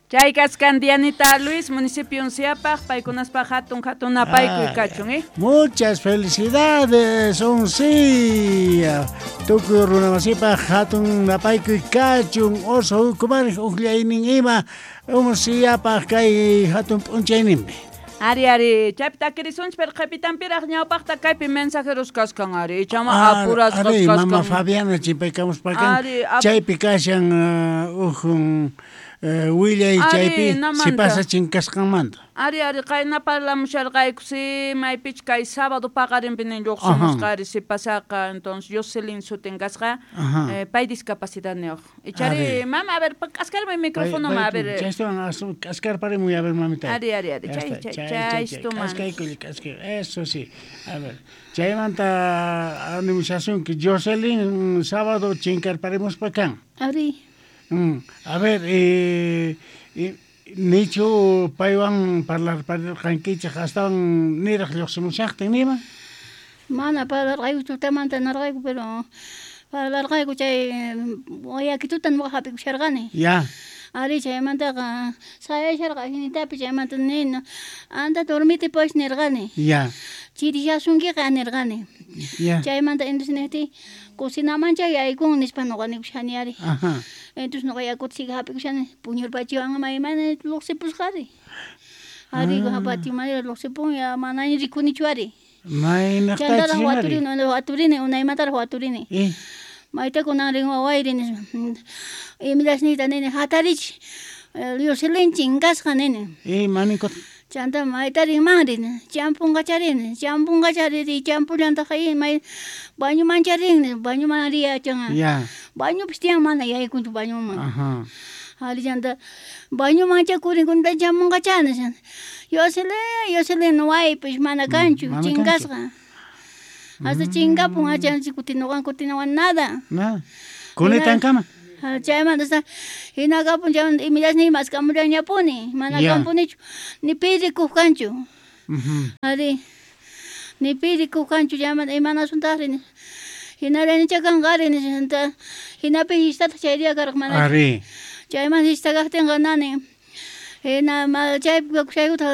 Chay kaskan Dianita Luis, municipio Unciapaj, paykunaspaj hatun hatun napaykuy kachun, eh? Muchas felicidades, Uncia. Tukuy runamasipaj hatun napaykuy kachun, oso ukumarej ujllaynin ima Unciapaj kay hatun p'unchayninpi. Ari, ari, chaypi takirisunchik, pero qhipitanpiraq ñawpaqta kaypi mensajeros kaskan, ari, ichama apurasqas Ari, kaskan. Mama Fabiana chimpaykamuspakan, Ari, chaypi kashan ujun willay Ari, chaypi namanta. sipasa chinkasqanmanta. Ari, ari, qayna parlamusharqayku, si maypich kay sábado paqarinpi nin lluqsimusqa, ari, sipasaqa, entonces Jocelyn sutin kasqa, pay discapacidad niyuq. Ichari, Ari. mama, a ver, k'askarmi micrófono, Pay, a ver, chaystuwan, k'askarparimuy, a ver, mamita. Ari, ari, ari, Ya chay, está, chay, chay, chay, chay, chaystuman. k'askaykuy, k'askay, eso sí. A ver, chaymanta animushasunki, Jocelyn, sábado chinkarparimuspa kan. Ari. A ver, nichu paywan parlarparirqankichik astawan niraq lluqsimushaqtin nima? Mana parlarqayku tutamanta narqayku, pero parlarqayku chay wayakituta nuqa hap'ikusharqani. Ya. Ari, chaymantaqa sayasharqa jinitapi, chaymanta nina, anda dormite pues nirqani. Ya. Chirishasunkiqa nirqani. Ya. Chaymanta entonces nijti, cocinaman chay yaykun nispa nuqa nikushani ari. Ajá. Entonces nuqa yakuta siga hap'ikushani, puñurpachiwan maymana lluqsipusqari. Ari, patio lluqsipun, ya manaña rikunichu ari. Maynaqtachi Chantaraq ari? waturini, waturini, unaymantaraq waturini. Mayta kunan rin wawayri nispa. Imilasniyta nini, hatarich, Jocelyn chinkasqa nini. Manikot. Chanta mayta rinmanri, champunqacharini, champunqachariri, champullantaq may bañumancharin, bañuman riyachan. Ya. Bañupis tiyan mana yaykunchu bañuman. Ajá. Ari chanta bañumanchakurin kunta chamunqachani. Jocelyn, Jocelyn waypis mana kanchu, mana chinkasqa. Hasta chinkapun achanchik kutinuwan, kutinuwan nada. Nada. Kunitankama. Chaymanta hasta hinakapun chaymanta imilasniy maskamullañapuni, mana Ya. kampunichu, ni pi rikuq kanchu. Ari, ni pi rikuq kanchu, chaymanta imanasuntaqri, hinallanicha kanqa ari, chanta hinapi histataq chay día karqa mana. Ari. Chaymanta hista kaqtinqa nani, hina ma chaypi kakushaykuta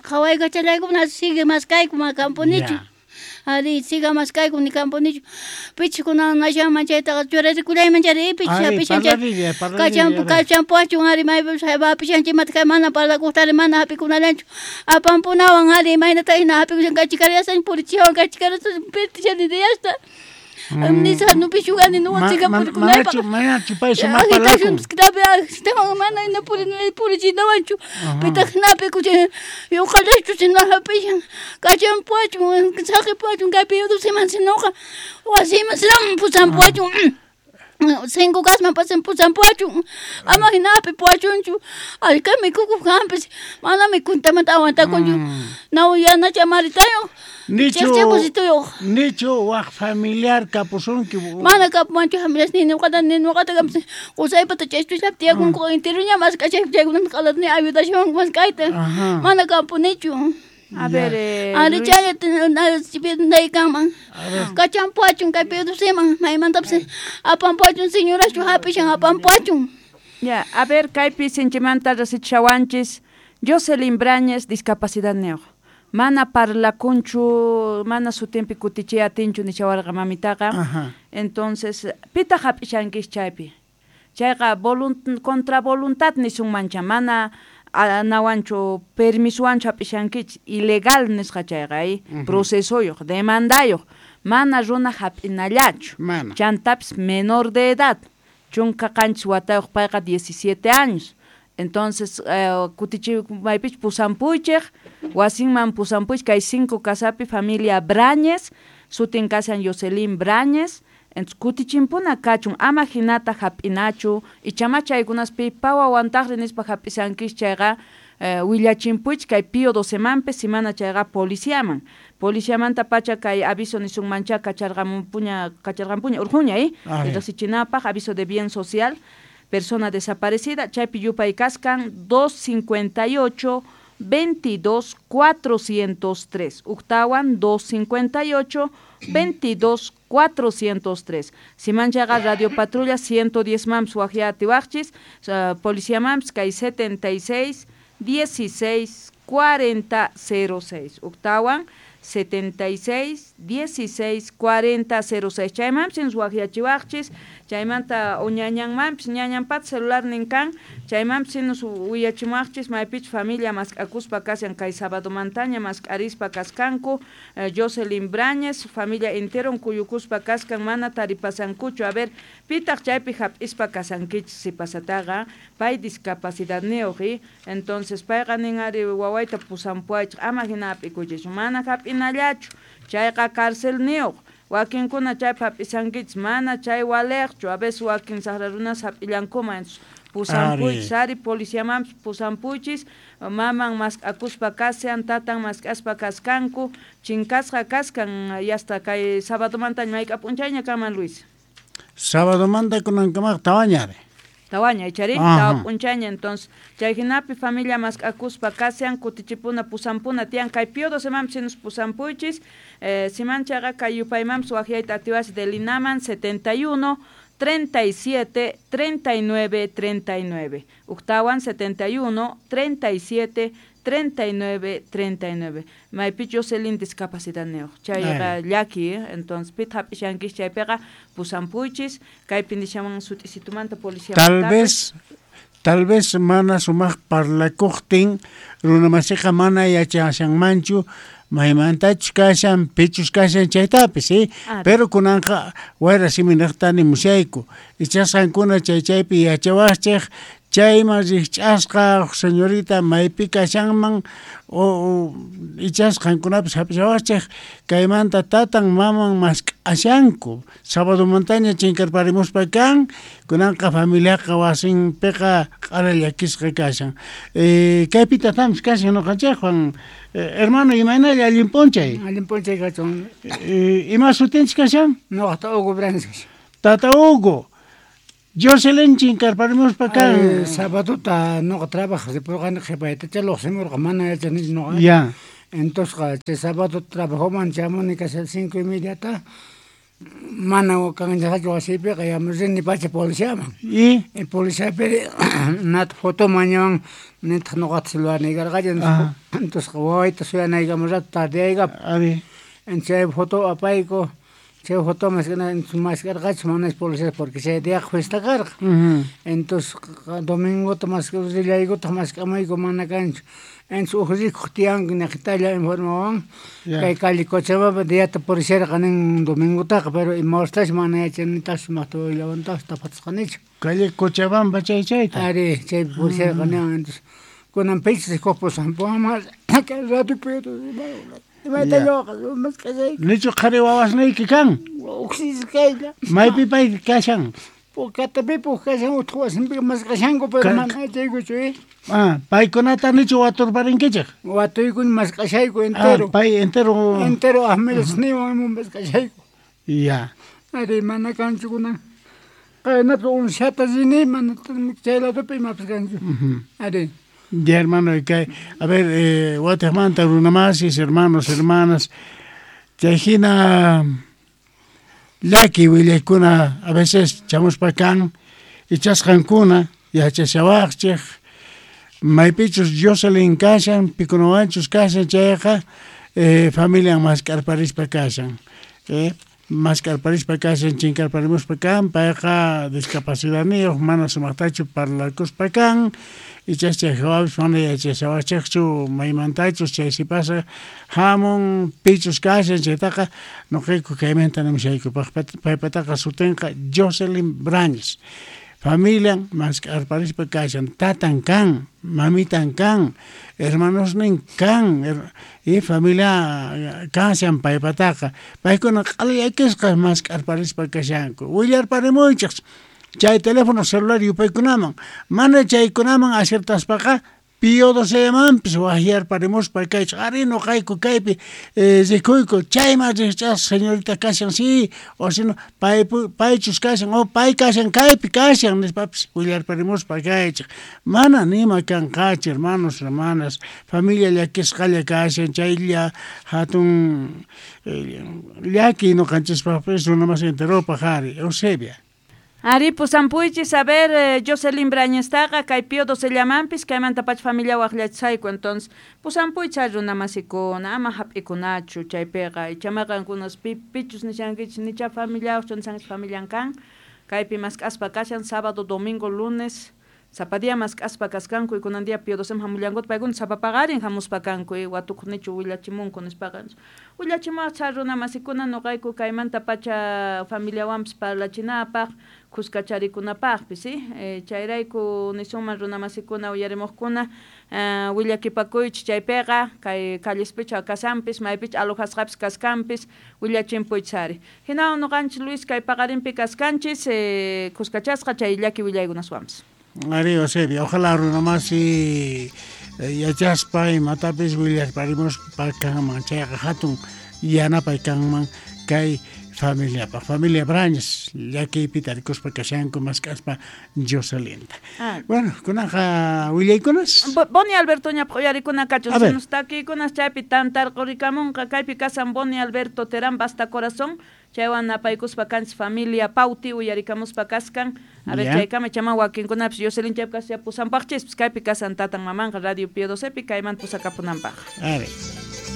qhawaykachallayku, sigue maskayku, mana kampunichu. Ya. Ari, siga maskayku, ni kampunichu. Pichis kunan nashanman chaytaqa churarikullayman chari, pichis Ari, hapishan chay. parlarilla, parlarilla, Kachampu, ari. kachampuachun, ari, maypis hapishan chaymanta kay mana parlakuqtari, mana hapikunallanchu. Apampunawan, ari, imaynata hina hapikushan, kachikariasan, purichiwan, kachikariasan, pirtishani diyasta. Nisa, no pishugani, no siga purikunaypaq. Manachu pay sumaq Agitashun, parlakun. kitapi, agitawan, mana hina purichinawanchu. Pitaq hinapi kuchin, yuqallachu sina hapishan, kachampuachun, saqipuachun, kaypi yudusiman sinoqa, wasiman sinam pusampuachun. Cinco kasman pasan pusampuachun, ama hinapi puachunchu, allka mikukuq kanpis, mana mikuntamanta aguantakunchu. Naw yanacha maritayo, Nichu, chiqchiqusituyuq. nichu waq familiar kapusunki. Mana kapumanchu familias ni nuqata ni nuqata kampis, qusaypata chaychullap tiyakunku intiruña mask'achayku chaykunata qalatni ayudashawanku mask'ayta. Ajá. Mana kampunichu. A ver, Ari Luis. chayata nay kanman. Kachampuachun kaypi udusiman, maymantapis apampuachun señorachu hapishan apampuachun. Ya, a ver, kaypi sinchimanta rasichawanchis, Jocelyn Brañez, discapacidad niyuq. Mana parlakunchu, mana sutinpi kutichiy atinchu nishawarqa mamitaqa. Ajá. Entonces, pitaq hap'ishankis chaypi. Chayqa contra voluntad nisunmancha, mana nawanchu permisuwanchu hap'ishankichik, ilegal nisqa chayqa, procesoyuq, demandayuq, mana runa hap'inallachu. Mana. Chantapis menor de edad, 17 watayuq payqa 17 años. Entonces, kutichi maypich pusampuychik, wasinman pusampuychik, kay 5 casapi familia Brañez, sutin kasan Jocelyn Brañez. Entonces, kutichimpuna kachun, ama hinata hap'inachu, ichama chaykunaspi pawawantaqri nispa hap'isankis chayqa, willachimpuychik kay Pío docemanpi, simana chayqa policiaman. Policiamanta pacha kay aviso nisunmancha kacharqampuña, kacharqampuña, urquña, Ari. Riqsichinapaq, aviso de bien social, persona desaparecida, chaypi yupay kaskan, 258, 22 403. Uktawan 258 22 403. Simanchaqa Radio Patrulla 110 mams wajyatiwajchis, Policía mams kay 76 16 40 06. Uktawan 76 16 40 06. Chaymanpis wajyachiwajchis, chaymanta uñañanmanpis ñañanpata celularnin kan, chaymanpis willachimuwajchis maypichus familia mask'akuspa kashan kay sabadomantaña mask'arispa kaskanku. Jocelyn Brañez, familia enteron kuyukuspa kaskan, mana taripasankuchu. A ver, pitaq chaypi hap'ispa kasankichis sipasataqa, pay discapacidadniyuq, entonces payqa nin ari wawayta pusampuwaychik, ama hina hap'ikuychikchu, mana hap'inallachu, chayqa carcelniyuq. Wakinkuna chaypi hap'isankichis, mana chay waliqchu, a veces wakin saqra runas hap'illankuman, pusampuychis ari policiamanpis pusampuychis, maman mask'akuspa kashan, tatan mask'aspa kaskanku, chinkasqa kaskan yasta kay sabadomantaña mayk'a p'unchayña kanman, Luis. Sabadomanta kunankamaq tawaña ari. Tawaña, ichari, tawa p'unchayña. Entonces, chay hinapi familia mask'akuspa kashan, kutichipuna pusampuna tiyan kay Pío XII manpis pusampuychis, simanchaqa kay yupaymanpis wajyayta atiwasi de Linaman 71 37 39 39. Uktawan 71 37 39 39. Maypi Jocelyn discapacidadniyuq, chayqa llaki, entonces pita hap'ishankis chaypiqa pusampuychis, kaypi nishaman sut'isitumanta policía. Tal vez mana sumaq parlakuqtin runamasiqa mana yachashanmanchu maymantachus kashan, pichus kashan chaytapis, pero kunanqa wayra siminaqta nimushayku, ichasqankuna chay chaypi yachawaqchik, chayman rikch'asqa señorita maypi kashanman o ichasqankunapis hap'ishawaqchik, kaymanta tatan maman mask'ashanku, sabadomantaña chinkarparimuspa kan, kunanqa familiaqa wasinpiqa q'ala llakisqa kashan. Kaypi tatampis kashan ñuqanchikwan. Hermano, imaynalla allin p'unchay? Allin p'unchay kachun. Ima sutinchik kashan? Ñuqata Hugo Brañez kashan. Tata Hugo, Jocelyn chinkarparimuspa kan. Sabadota ñuqa trabajaq ripurqani, qhipaytacha lluqsimurqa, mana yachanichu ñuqa. Ya. Entonces chay sábado trabajoman chamuni casi 5:30ta, mana kanchaqachu wasiypiqa, ya rini pacha policiaman. ¿Y? Policiapi nata foto mañawan, nitaq ñuqata celularniy karqachu, entonces wawayta suyanaykama rato tardeaykapa. Ari. Chay foto apayku, chay foto mask'arqachu manas policía porque chay diaqa fiesta karqa. Entonces domingota rillaykutaq mask'amayku mana kanchu. Entonces uj rikuq tiyanku niqtalla informawan, kay calle Cochabamba diata policierqa nin domingotaqa, pero ima horastachu mana yachanitachu sumaqta willawantachu tapatasqanichu. Calle Cochabamba chay chayta. Ari, chay policierqa niwan. Entonces kunan pichis rikuq pusampuwanman kay rato imayta lluqqa mask'ashayku. Nichu qhari wawasniyki kan? Uqsis kaylla. Maypi pay kashan? Katapipi uj kashan, utaq wasinpi mask'ashanku, pero mana yachaykuchu. Paykunata nichu waturparinkichik? Watuykuni mask'ashayku entero. Pay entero. Entero ahmilasniwan ima mask'ashayku. Ya. Ari, mana kanchu kunan. Qaynata unshata rini, mana chay ladopi imapis kanchu. Ari. Ya, hermano, a ver, watejmanta runamasis, hermanos, hermanas, chay hina llaki willaykuna a veces chamuspa kan, ichasqankuna yachashawaqchik, maypichus Jocelyn kashan, pikunawanchus kashan chayqa, familian mask'arparispa kashan, mask'arparispa kashan, chinkarparimuspa kan, payqa discapacidadniyuq, mana sumaqtachu parlakuspa kan, ichas chay hawapis mana yachashawaqchikchu maymantachus chay sipasa hamun, pichus kashan chaytaqa ñuqayku kaymanta nimushayku, paypataqa sutinqa Jocelyn Brañez. Familian mask'arparispa kashan, tatan kan, mamitan kan, hermanosnin kan, y familia kashan paypataqa. Paykuna q'ala llakisqa mask'arparispa kashanku. Willarparimuychik chay teléfono celular yupaykunaman, mana chaykunaman acertaspaqa Pío Docemanpis wajyarparimuspa kaychej ari noqayku kaypi rikuyku chayman rijch'asqa señorita kashan sí o sino paychus kashan o pay kashan kaypi kashan nispapis willarparimuspa kaychej mana nima kanqachu hermanos hermanas familia llakisqalla kashan chaylla hatun llaki noqanchispaqpis runa masi enteropaq ari Eusebia. Ari pusampuychis a ver Jocelyn Brañestaqa kay Pío Docellamanpis kaymantapacha familia waqllachisayku entonces pusampuychis runa masikuna ama hap'ikunachu chaypiqa icha qankunas pichus nishankichis nicha familiawaqchu nishankichis familian kan kaypi mask'aspa kashan sábado domingo lunes sapa día mask'aspa kaskanku y kunan día Pío Doceman hamullankuta paykuna sapa paqarin hamuspa kanku y watukuq nichu willachimunku nispaqa willachimuwaq runa masikuna noqayku kaymantapacha familiawanpis parlachinapaq kuskacharikunapaqpis ¿sí? Chayrayku nisunman runa masikuna uyarimuqkuna willakipakuychis chaypiqa kay callespicha kasanpis maypicha alojasqapis kaskanpis willachimpuychis ari hinawan noqanchis Luis kay paqarinpi kaskanchis kuskachasqa chay llaki willaykunaswanpis. Ari Eusebio, ojalá runa masi yachaspa imatapis willarparimuspa kanman chayqa hatun yanapay kanman kay familiapaq familia Brañas llakiypi tarikuspa kashanku mask'aspa Jocelynta. Bueno, kunaqa willaykunas. Boni Alberto ñapaq uyarikuna kachun sinus takiykunas chaypi tantarqurikamunqa kaypi kasan Boni Alberto Terán Basta Corazón chaywan napaykuspa kanchis familia Pauti uyarikamuspa kaskan a ver chaykama chama wakinkunapis Jocelyn chaypi kashan pusanpaqchispis kaypi kasan tatan mamanqa Radio Pío Docepi kaymanta pusakapunanpaq. A ver.